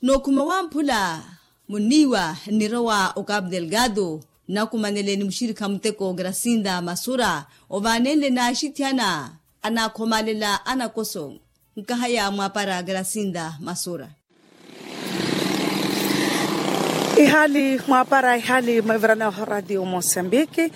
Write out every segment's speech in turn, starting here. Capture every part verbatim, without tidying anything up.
Nookhuma wamphula munniiwa nnirowa okapu delgado, nnakumanele ni muxirikha muteko grasinda masura, ovaanenle n'axithiyana anaakhomalela anakoso. Nkahaya mwaapara grasinda masura. Ihaali mwaapara ihaali mwevirana radio mosambiki.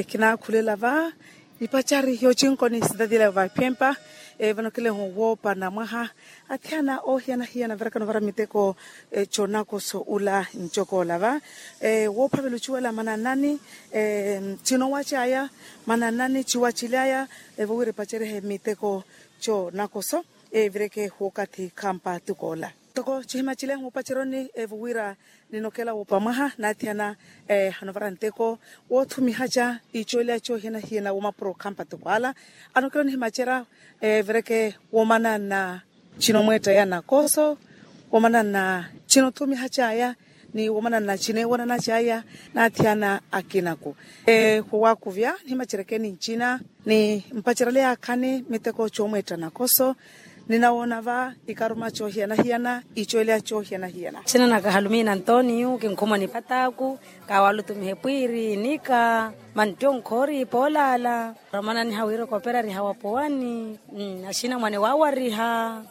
Kinaakhulela va ipacari yoocinko ni sitati ila yovapempa. Vano kilehu woopa na mwaha athiyana oohiyana-hiyana virakano vara miteko. Conakoso ula ncokoola va woophavela ociwela mananani, cinoowa caya mananani ciwa cilyaya, vowira ipacerihe miteko conakoso. Evireke wookathi khampa tukoola toko cihima cilehu opaceroni. Vowira ninokela woopa mwaha naathiyana hanovara nteko woothumihaca icoolya coohiyana-hiyana womapuro khampa tukwaala. Anokela onihimacera evireke womanana cinomweettaya nakoso, womanana cinothumihacaya ni womanana cineewananacaya naathiyana akinaku. Wowakuvya nihimacerekeni ncina ni mpacerele yaakhani miteko coomweetta nakoso. Ninawoona va ikaruma coohiyana-hiyana icoolya coohiyana-hiyana. Ncina naka halumiina antoniyu kinkhumwa ni pataaku. Kawalutumihe pwiiri nika mantti onkhoori poolaala. Ramananiha wira okoperariha wapowani. Axina mwane waawariha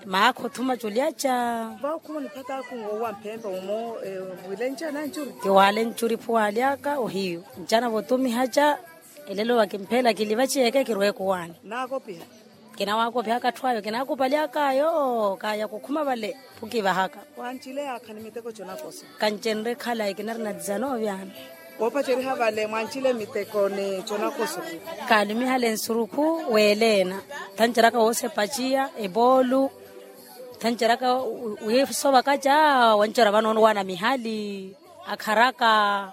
maakha othuma culyaca. Vawo khumwa ni pataaku woowa mphempa umo. Wilenca nancuri. Tiwaale ncuri phuwaalyaka ohiyu ncana votumihaca. Elelo vakimphela kilivaci eke kirweku waani. Naakopiha. Kinawakophihaka atthu ayo kinaakupalyaka ayo kaya kukhuma vale. Phukivahaka. Wancile yaakha ni miteko conakoso. Kancenre khalayi kinarina dizanoovyana. Woopaceriha vale mwancile miteko ni conakoso. Kaalumihale nsurukhu weeleena. Thanceraka woosepaciya epoolu. Thanceraka wiisovakaca. Wancerya vano onuwaana mihali akharaka.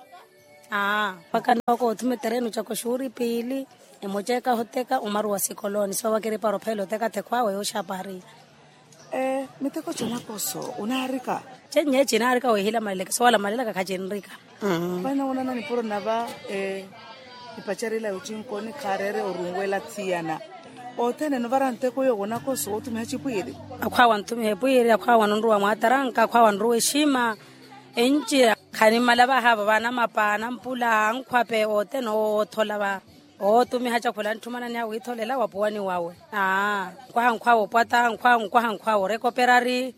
Aa mpakha nnookoothuma eterenu caka oxuuri piili. Emoca ekaha oteka omaru wa sikolooni soowa kiripara ophela oteka thekhwaawe yooxapari. Miteko conakoso onaarika? Cennye cinaarika weehila maleleke soowala malelaka khacinrika. Vai nawoonana nipuro nava ipacari ila yocinkooni khaareere orunwela thiyana. Othene novara nteko yoowo nakoso wootumiha cipwiiri. Akhwaawa nthumiha epwiiri akhwaawa nonruwa mwaataranka akhwaawa nruwa exima. Enci khanimmala vahaavo vaanamapa anampula ankhwape othene oothola va. Ootumiha cakhula antthumananiha wiitholela wapuwani wawe. Aa nkwaha nkhwawe opwata nkwaha nkwaha nkhwawe orekoperari.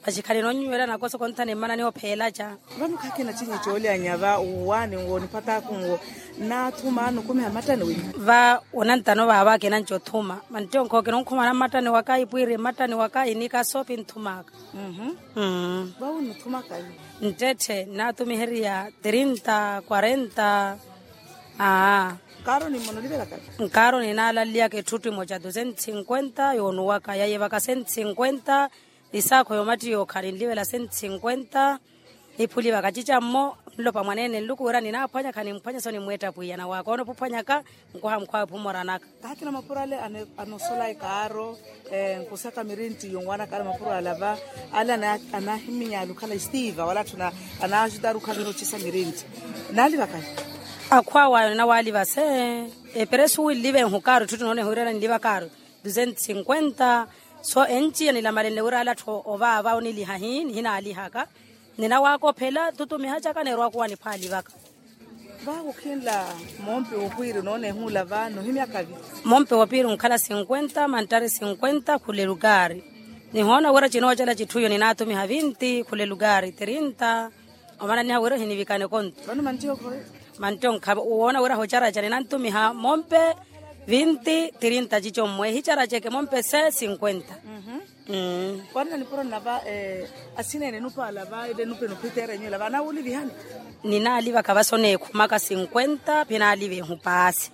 Maxi khalina onnyuwela nakoso konthana emmananiha opheelaca. Vano khakina cinyi coolyanya va uwaani nwo nipataaku nwo. Naathuma anukumiha mmattani winyu? Va onantano vaava akinanci othuma mantti onkhowa kinonkhumana mmattani waka ipwiiri mmattani waka inika soopi nthumaka. Vawo nnuthumaka nyu? Nttette nnaatumiherya trinta quarenta. Aa. Nkaaro ninaalaliyaka etthutti emoca tu cento cinquenta yoonuwaka yaiyevaka cento cinquenta. Isaakho yoomattiya okhala ninlivela cento cinquenta. Niphulivaka cicammo nlopa mwaneene nluku wira ninaaphwanya khanimphwanya so nimweetta pwiya nawaaka oona opuphwanyaka. Nkwaha mukwaha ophumoranaka. Kaakina mapuro ale anosola ekaaro nkusaka mirintti yonwaanaka ale mapuro ala va ale anahiminyali okhala estiva wala atthu anaaxutari okhala nirocisa mirintti. Naalivaka nyu? Akhwaawayo ninawaaliva se eperesu winlive nhu kaaro etthu tinoone hwiirela ninliva kaaro. Ducento cinquenta. So enciya nilamalenle wira ale atthu ovaava oniliha hi nihinaalihaka. Ninawakophela tutumiha caka neerowaka owa niphwaalivaka. Vaavo khinla mompe wopiiri noonehuula va nohimyaka vi? Mompe wopiiri onkhala cinquenta manttari cinquenta khula elukaari. Nihoona wira cinoocela citthu iyo ninaatumiha vinti khula elukaari trinta. Omananiha wira ohinivikane kontu. Vano mantti onkhavi woona wira hoocaraca ninantumiha mompe vinti trinta cicommwe ehicaraca eke mompe se cinquenta. Mmm. Kwanna nipuro nnava asineene nupaala va ile nupe nuphiteera enyu ila va anawulivihani? Ninaalivaka va so neekhumaka cinquenta pinaalivehu paasi.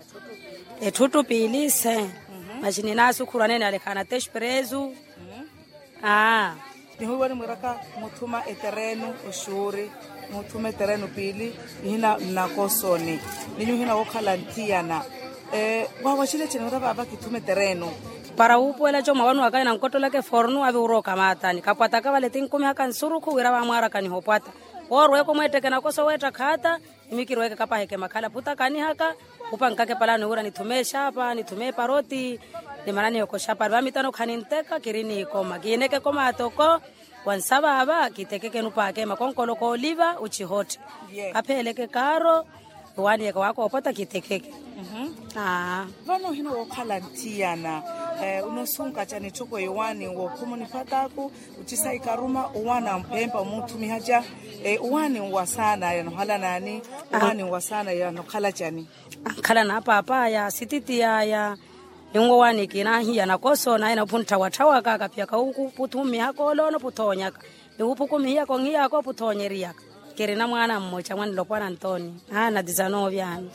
Etthuttu piili se. Maxi ninaasukhuru aneene alekhaana tespelesu. Aa. Nihuiwa nimwiraka muthuma eterenu oxuuri muthuma eterenu piili. Nihina nnakosoni ninyu hina wookhala nthiyana. Waawaxile cene wira vaava kithuma eterenu. Para wuupuwela comwa wanu waka inankottolaka efornu avi wira okamaatani khapwataka vale tinkumihaka nsurukhu wira vaamwaaraka nihopwata. Woorweeka omweetteke nakoso weetta khaata. Nimi kirweeke kapaheke makhala putaka anihaka. Khupankaka epalano wira nithume exapa nithume eparoti. Nimananihe okoxapari vamitano khaninteka kiri nikoma kiineke ekoma toko. Wansa vaava kitekeke nupaake makonkolo kooliva ucihotte. Kapheeleke kaaro. Owaani eka waakoopota kitekeke. Vano ohina wookhala nthiyana onosunka cani etthoko yowaani wookhuma oniphataaku? Ocisa ikaruma owaani amphempa omuuthumihaca. Owaani nwa saana yanohala naani? Owaani nwa saana yanokhalaca ni? Ankhala na paapaya sititi yaya. Ninwo owaani kinahiya nakoso naye naphuntthawatthawa kaka piyaka wukuputhumihaka oloono puthoonyaka. Niwuphukumihiyaka onhiyaka oputhoonyeriyaka. Kirina mwaana mmoca mwanilopwana ntoni. Aana tisanoovyani.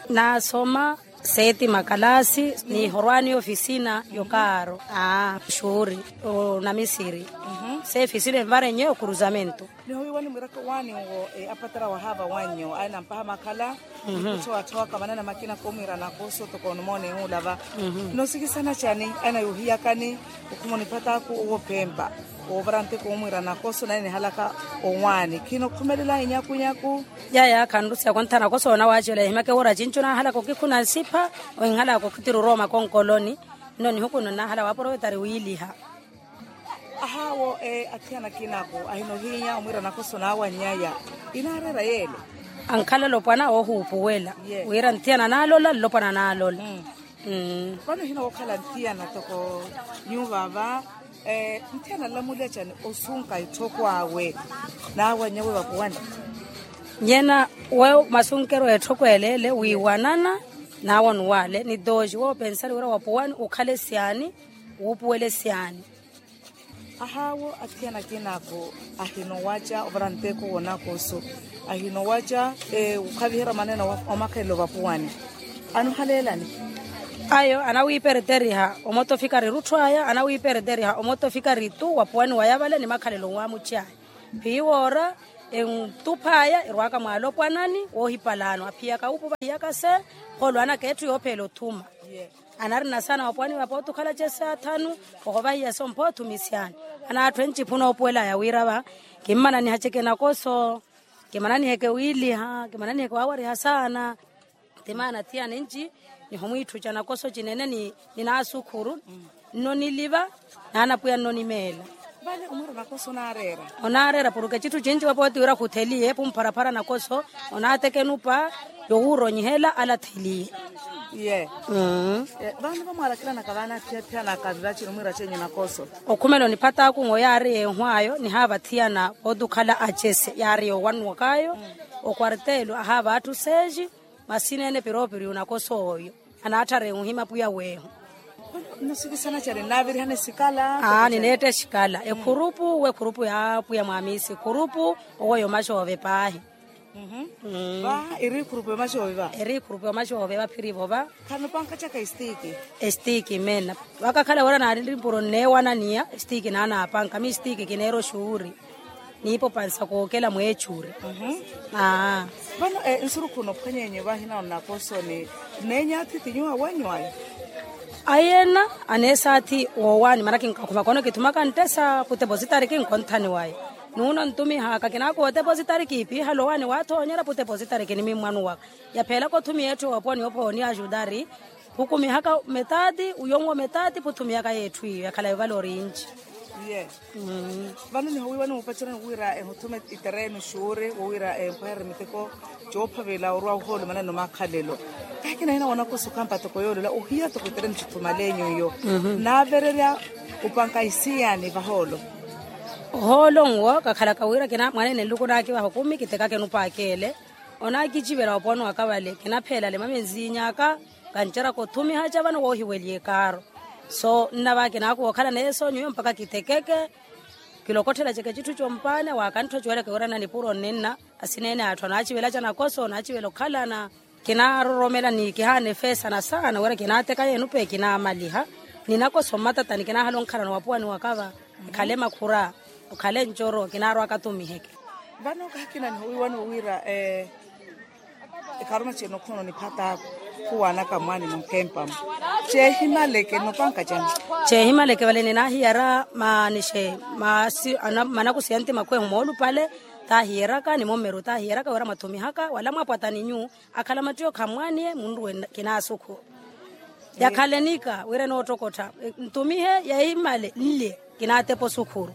Nasoma seeti makalaasi. Nihorwaani ofisina yokaaro. Aa xuuri. Onamisiri. Seefisina envarenye okuruzamento. Nihowiwani mwiraka owaani nwo apatara wahaava wannyo aye nampaha makhala. Nikutthowatthowa kamanana makina koomwiira nakoso toko onumoona ehuulava. Nosikisana cani? Aye nayohiyakani okhuma oniphataaku owo phempa. Woovara nteko omwiira nakoso naye nihalaka owaani khinokhumelelanyi nyakunyaku. Yaya khanrusiya kontha nakoso onawaacela ehimaka ewora cinco nahalaka okikhuna nsipha. Ohinhalaka okhitira orowa makonkoloni. Nno nihuku nno nahala waaprovetari wiiliha. Ahaawo athiyana akinako ahinohiinya omwiira nakoso naawannyaya. Inaareera yeele. Ankhala lopwana oohuupuwela wira nthiyana naalola nlopwana naalola. Vano ohina wookhala nthiyana toko nyuva va. Nthiyana nlamulyacani osunka etthoko awe naawannya we vapuwani? Nyena we masunkeryo etthoko eleele wiiwanana. Naawo nuwaale ni tooxi woopensari wira wapuwani ukhale syaani? Wuupuwele syaani? Ahaawo athiyana akinako ahinowaca ovara nteko wonakoso. Ahinowaca okhaviherya maneno omakhalelo vapuwani. Anohaleelani? Ayo anawiipereteriha omoto ofikari rutthu aya anawiipereteriha omoto ofikari tu wapuwani waya vale ni makhalelo waamuci aya. Phiiwoora entuph'aya erwaaka mwaalopwanani woohipalaano aphiyaka wuupuva hiyaka se. Kholo anaka etthu yoopheela othuma. Anarina saana wapuwani vapooti okhala cesi athanu. Ohovahiya sompho othumi syaani. Anaatthu enci phuna oopuwel'aya wira va kimmananihaceke nakoso. Kimananiheke wiiliha kimananiheke waawariha saana. Timaana thiyana enci nihomwiitthuca nakoso cinene ni naasukhuru. Nno niliva naana pwiya nno nimeela. Vale omwiira nakoso onaareera? Onaareera puruke citthu cinci vapooti wira khutheliye pumparaphara nakoso. Onaateke nupa yowuuronyihela alatheliye. Ye. Vano vamwaarakilanaka vaana aphiyaphiyanaka vivacini omwiira cenyu nakoso. Okhumela oniphataaku nwo yaari yeehu ayo nihaava athiyana pooti okhala acese yaari yoowanwak'ayo. Okwartelo ahaava atthu seexi. Masineene piroopiri onakosa oyo anaatthareya onhima pwiya weehu. Nnusikisana cari nnaavirihana esikala? Aa nineetta esikala ekhurupu wekhurupu ya pwiya mwaamiisi ekhurupu. Owo yomaxoove paahi. Va eri ekhurupu yomaxoove va? Eri ekhurupu yomaxoove vaphirivo va. Khano pankacaka esitiiki? Esitiiki meena. Vakakhala wira naari mpuro nneewananiya esitiiki naanaapanka miisitiiki kineera oxuuri. Niipopansa kookela mweechuri. Aa. Vano nsurukhu nophwany'enyu vahina onakosoni. Nneenya athi ti nyuwo awanyu ayi? Ayi ena aneesaathi woowaani mana kinkakhuma kono kithumaka nttesa putepositari kinkonthani wayi. Nuuno ntumihaka kinaakuwa otepositari kiipiihala owaani waathoonyera putepositari kinimimmwanuwaka. Yapheelaka othumiha etthu yooponi ophooni ajudari. Phukumihaka metaati uyonwo metaati phuthumiyaka yeetthu iyo yakhala yovala orinci. Vano nihowiiwani mupacerani wira ehuthume itereeno xuuri wowira empweherya miteko coophavela orwa ohoolo maneno makhalelo. Kahi kinahina woonakosa okhampa toko yoolola ohiya toko itereeno cithumalenyu iyo. Naavererya opanka isiyani vahoolo? Ohoolo nwo kakhalaka wira kina mwaneene nluku naakivaha okumi kitekake nupaakele. Onaakicivela oponi waka vale kinapheela lema menziinyaka. Kanceraka othumiha ca vano woohiweliye kaaro. So nnava kinaakuwa okhala neesoonyo iyo mpakha kitekeke. Kilokotthela ceke citthu compaani waakanttho cuweleke wira nna nipuro nninna. Asineene atthu anaacivela ca nakoso anaacivela okhalana. Kinaaroromela ni kihaana efeesana saana wira kinaateka yeenu pe kinaamaliha. Ninakoso mmatatani kinaahala onkhalana wapuwani wakava. Ekhale makhura okhale ncoro kinaarwaka atumiheke. Vano kahi kina nihowiiwani wowira ekharuma cene okhuna oniphat'aku khuwaanaka mwaani munkempa-mu. Ceehimaleke nnopanka cani? Ceehimaleke vale ninaahiyara maanixe manakusiya ntimakhu ehu moolupale. Taahiyeraka ni mummeru taahiyeraka wira mwathumihaka wala mwapwatani nyu akhala mattiyo khammwaaniye munruwe. Kinaasukhuru yakhalenika wira enoottokottha ntumihe yeimale nlye. Kinaatepa osukhuru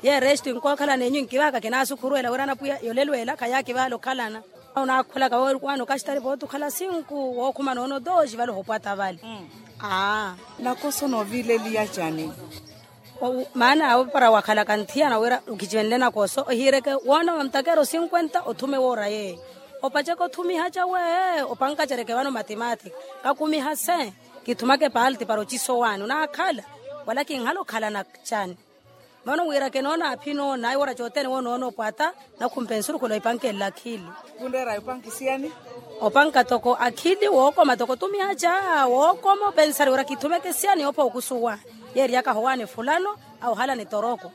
ye resti nkookhala nenyu nkivahaka kinaasukhuru ela wira anapwiya yolelweela khayakivahala okhalana. Onaakholaka wookwani okaxitari vooti okhala sinku wookhuma noono tooxi vale ohopwata vale. Aa nakoso noovileliya cani? Maana awo para wakhalaka nthiyana wira okicenle nakoso ohiireke woona wa mtakero sinkwenta othume woora yeeyo. Opaceke othumiha cawe opankacereke vano matimati kakumiha se kithumake palti para ocisowaani onaakhala wala kinhala okhalana cani? Vano wira kinoona aphinoona ayi woora cothene woonoona opwata nakhumpe nsurukhula ohipanke nlakhili. Khunreera ohipanke siyani? Opanka toko akhili wookoma toko tumiha ca wookoma opensari wira kithumeke siyani oopha okusuwa yeeriyaka howaani fulano. Awo ohala ni toroko.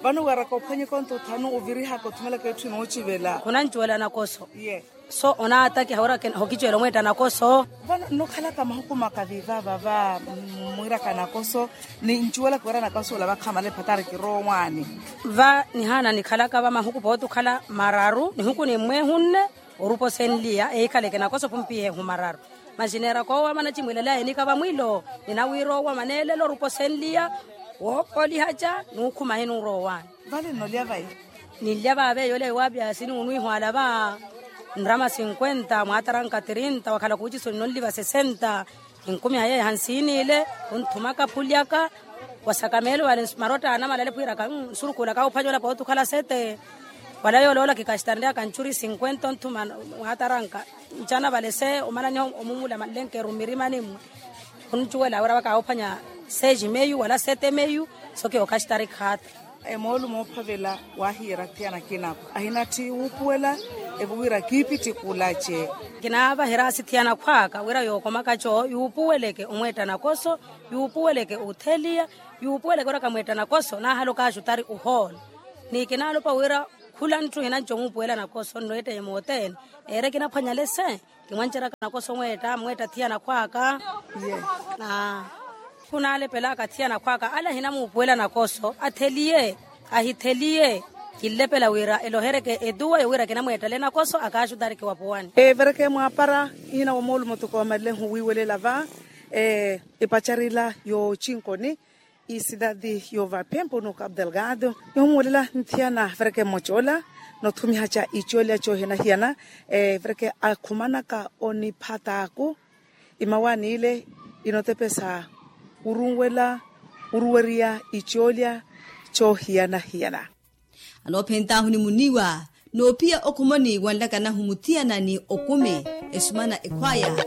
Vano wiiraka ophwanyeke onto othanu ovirihaka othumelaka etthu inoocivela khunancuwela nakoso. Ye so onaatakiha wira hokicuwela omweetta nakoso. Vano nnokhalaka mahuku maka viivaava va mwiiraka nakoso ni ncuwelaka wira nakoso ola vakhamala ephatari kiroowaani. Va nihaana nikhalaka va mahuku pooti okhala mararu nihuku ni mmweehu nne orupa osenliya eikhaleke nakoso pumpihe ehu mararu. Masi neeraka oowama nacimwiilelaya enika vamwiilo ninawiira oowama neelela orupa osenliya wookoolihaca nuukhuma hinuura owaani. Vale nnolya vayi? Ninlya vaave yoolya yuwaapiya sini wunwiihwaala va nrama sinkwenta mwaataranka tirinta wakhala kuuciso nnonliva sesenta. Ninkumiha yeeha nsiiniile khunthumaka phulyaka wasaka meelo vale marotta anamalale pwiiraka nsurukuulaka ophwanyola pooti okhala sete. Wala yooloola kikaxitaryaka ncuri sinkwenta onthuma mwaataranka ncana vale se omananiha omumula manlenkeru mmirimani mmwe. Khuncuwela wira vakaawophwanya seji meyu wala sete meyu. Soki okaxitari khaata. Emoolu moophavela waahiyera thiyana kinako ahinatthi wuupuwela evo wira kiipittikulace. Kinaavaherasi thiyana khwaaka wira yookomaka co yuupuweleke omweetta nakoso yuupuweleke otheliya yuupuweleke wira kamweetta nakoso naahala okaaxutari ohoola. Ni kinaalopa wira khula ntthu hinanci omuupuwela nakoso nnowetteye moothene. Eere kinaphwanyale se kimwanceraka nakoso mweetta mweetta thiyana khwaaka. Khunaalepelaka thiyana khwaaka ale ahinamuupuwela nakoso atheliye ahitheliye. Kinlepela wira elohereke etuwa yowira kinamweettale nakoso akaaxutareke wapuwani. Evereke mwaapara ihina wa moolumo toko wamalilehu wiiwelela va epacarila yoochinkoni. Isidadi yoova phempo no cabo delgado. Nihummwelela nthiyana vereke mmoca ola nothumihaca icoolya coohiyana-hiyana. Vereke akhumanaka oniphataaku imawaani ile inotepesa wurunwela wuruweriya icoolya coohiyana-hiyana. Anoophentaahu ni muniiwa noophiya okhumoni wanlakanahu muthiyana ni okumi esumana ekhwaya.